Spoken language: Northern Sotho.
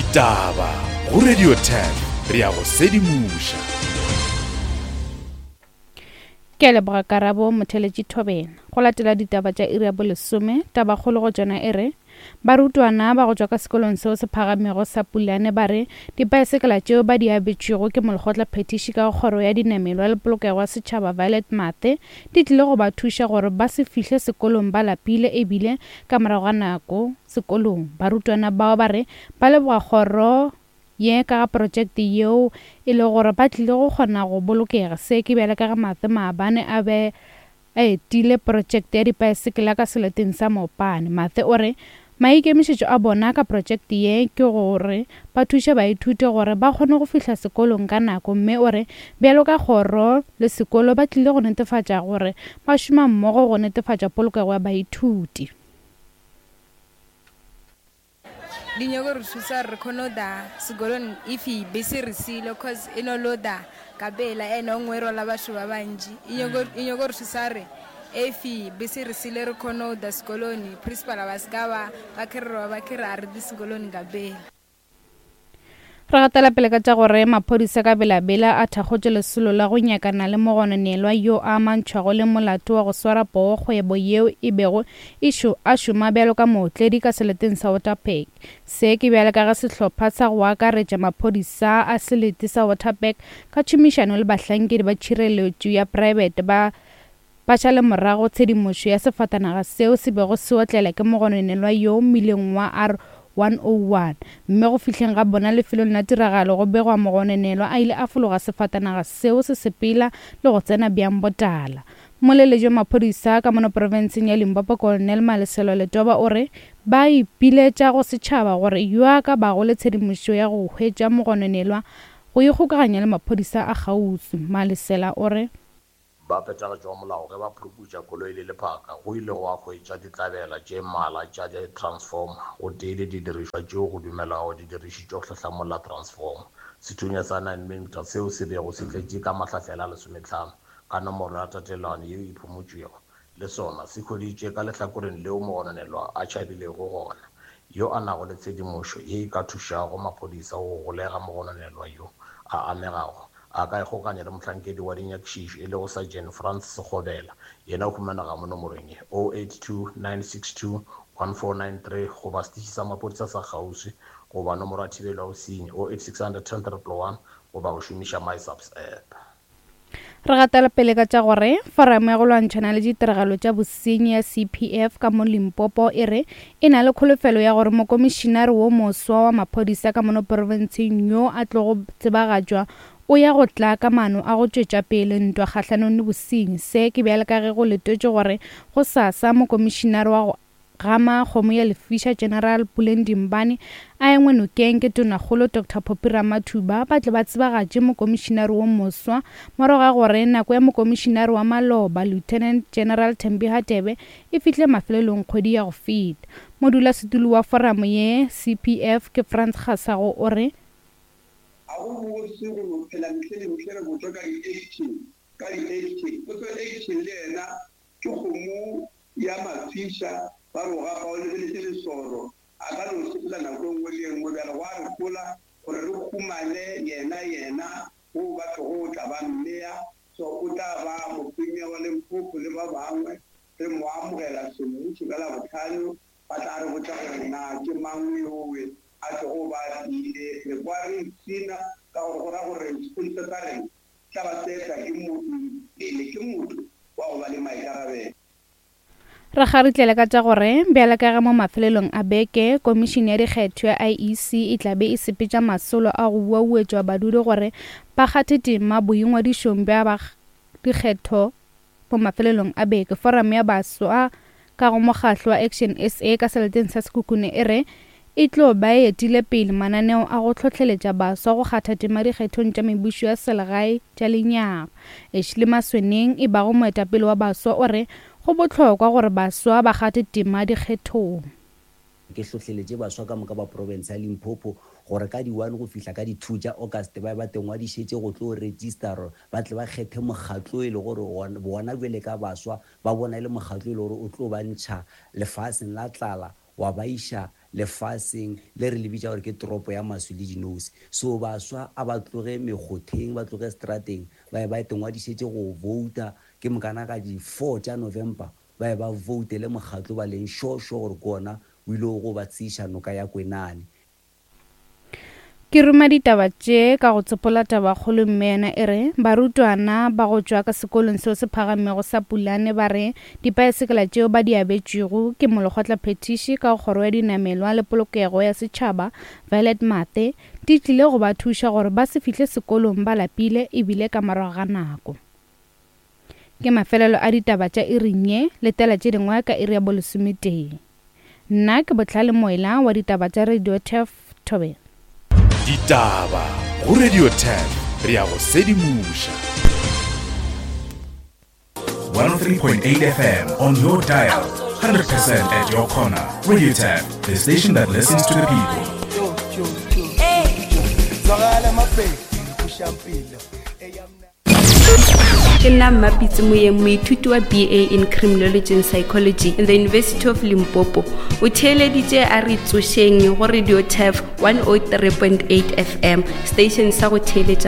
Ditaba go Radio 10 re ya go sedimoša. Ke a leboga Karabo Motheletši Thobela. Go latela ditaba tša iri ya bolesome, tabakgolo go tšona e re, Barutwana ba go tšwa ka sekolong seo se phagamego sa Pulane ba re dipaesekela tšeo ba di abetšwego ke molekgotla phethiši ka go kgoro ya dinamelwa le polokego ya setšhaba Violet Mathe di tlile go ba thuša gore ba se fihle sekolong ba lapile ebile ka morago ga nako sekolong. Barutwana bao ba re ba leboga kgoro ye ka ga projekte yeo e le gore ba tlile go kgona go bolokega. Se ke bjale ka ge Mathe maabane a be a etile projekte ya dipaesekela ka seleteng sa Mopane. Mathe o re maikemišetšo a bona ka projekte ye ke gore ba thuše baithuti gore ba kgone go fihla sekolong ka nako mme o re bjalo ka kgoro le sekolo ba tlile go netefatša gore ba šoma mmogo go netefatša polokego ya baithuti. Di nyoko re thusa gore re kgone go da sekolong if bese re siile cause e no lo da ka pela ene o nngwe e rwala batho ba bantši. E nyoko e nyoko re thusa gore if bese re siile re kgone go da sekolong principal ba se ka ba ba kgererwa ba khere a re tle sekolong ka pela. Re gatela pele ka tša gore maphodisa ka Bela-Bela a thakgotše lesolo la go nyakana le mogononelwa yo a amantšhwago le molato wa go swara poo kgwebo yeo e bego e šo a šoma bjalo ka mootledi ka seleteng sa Waterberg. Se ke bjale ka ge sehlopha sa go akaretša maphodisa a selete sa Waterberg ka tšhomišano le bahlankedi ba tšhireletšo ya praebete ba Ba šale morago tshedimošo ya sefatanaga seo se bego se otlela ke mogononelwa yoo mmileng wa R101, mme go fihleng ga bona lefelong la tiragalo go begwa mogononelwa a ile a fologa sefatanaga seo se sepela le go tsena bjang botala. Mmoleledi wa maphodisa ka mono profenseng ya Limpopo Colonel Maleselo Letoba o re ba ipiletša go setšhaba gore yo a ka bago le tshedimošo ya go hwetša mogononelwa go ikgokaganya le maphodisa a kgauswi. Malesela o re. Ba phethagatšo wa molao ge ba phuruputša koloi le lephaka, go ile gwa hwetšwa ditlabela tše mmalwa tša di-transformer gotee le didirišwa tšeo go dumelwago di dirišitšwe go hlahlamolla transformer. Sethunya sa 9 mm seo se bego se tletše ka mahlahlela a lesometlhano ka nomoro ya tatelano yeo e phumotšwego le sona se hweditšwe ka lehlakoreng leo mogononelwa a tšhabilego gona. Yo a nago le tshedimošo ye e ka thušago maphodisa go golega mogononelwa yo a amegago A ka ikgokanya le mohlankedi wa dinyakišišo e lego Sergeant Frans Sekgobela. Yena o humanega mo nomorong ye, 082 962 1493 goba setiši sa maphodisa sa kgauswi goba nomoro ya thibelo ya bosenyi, 08600 10 111 goba go šomiša MySAPS app. Re gatela pele ka tša gore Foramo ya go lwantšhana le ditiragalo tša bosenyi ya CPF ka mo Limpopo e re e na le kholofelo ya gore mokomišinare wo moswa wa maphodisa ka mono profenseng yo a tlogo tsebagatšwa o ya go tla ka maano a go tšwetša pele ntwa kgahlanong le bosenyi. Se ke bjale ka ge go letetšwe gore gosasa mokomišinare wa go gama kgomo ya lefiša General Puleng Dimbane a engwe nokeng ke Tonakgolo Doctor Phophi Ramathuba ba tle ba tsebagatše mokomišinare wo moswa morago ga gore nako ya mokomišinare wa maloba Lieutenant General Thembi Hadebe e fihle mafelelong kgwedi ya go feta. Modulasetulo wa foramo ye, CPF, ke Frans Kgasago o re, Ga go bose go no phela mehle le mehle re botšwa ka di-action, ka di-action. Potso action le yena ke kgomo ya mafiša, ba re o gapa o lebeletše lesoro, a ka no sepela nako e nngwe le e nngwe. Bjale gwa re hola gore re humane yena, yena wo ba tlogo tla ba mmea, so o tla ba mopremier wa Limpopo le ba bangwe. Re mo amogela semmušo ka Labohlano, ba tla re botša gore na ke mang yowe a tlogo ba a tlile. Re kwa re ipshina ka gore go ra gore sephodisa sa rena tla ba se etwa ke motho pele ke motho wa go ba le maikarabelo. Re kgaritlele ka tša gore bjale ka ge mo mafelelong a beke Komišene ya Dikgetho ya IEC e tla be e sepetša masolo a go uauetšwa badudi gore ba kgathe tema boingwadišong bja ba dikgetho mo mafelelong a beke, Foramo ya Baswa ka go mokgahlo wa Action SA ka seleteng sa Sekhukhune e re e tlo ba e etile pele mananeo a go hlohleletša baswa go kgatha tema dikgethong tša mebušo ya selegae tša lenyaga. Ashley Masweneng e bago moetapele wa baswa o re go bohlokwa gore baswa ba kgathe tema dikgethong. Ke hlohleletše baswa ka moka ba profense ya Limpopo gore ka di one go fihla ka di two tša August ba be ba tengwadišetše go tlo register ba tle ba kgethe mokgatlo e le gore bona bjale ka baswa ba bona e le mokgatlo e le gore o tlo ba ntšha lefaseng la tlala wa ba iša lefaseng le re le bitša gore ke toropo ya maswi le dinose. So baswa a ba tloge mekgotheng, ba tloge strateng, ba ye ba itengwadišetše go vouta, ke mokana ka di 4 tša November ba ye ba voutele mokgatlo ba leng sure sure gore ke wona o ile go ba tseiša noka ya Kwenane. Ke ruma ditaba tše ka go tsopola tabakgolo mme yona e re, Barutwana ba go tšwa ka sekolong seo se phagamego sa Pulane ba re dipaesekela tšeo ba di abetšwego ke molekgotlaphethiši ka go Kgoro ya Dinamelwa le Polokego ya Setšhaba, Violet Mathe, di tlile go ba thuša gore ba se fihle sekolong ba lapile e bile ka morago ga nako. Ke mafelelo a ditaba tša iring ye, letela tše dingwe ka iri ya bolesometee. Nna ke Bohlale Moela wa ditaba tša Radio Turf, Thobela. Ditaba go Radio Turf, re a go sedimoša. 103.8 FM on your dial, 100% at your corner. Radio Turf, the station that listens to the people. Ke nna Mmapitse Moyeng, moithuti wa BA in Criminology and Psychology in the University of Limpopo. O theeleditše a re tsošeng go Radio Turf 103.8 FM, station sa go theeletša.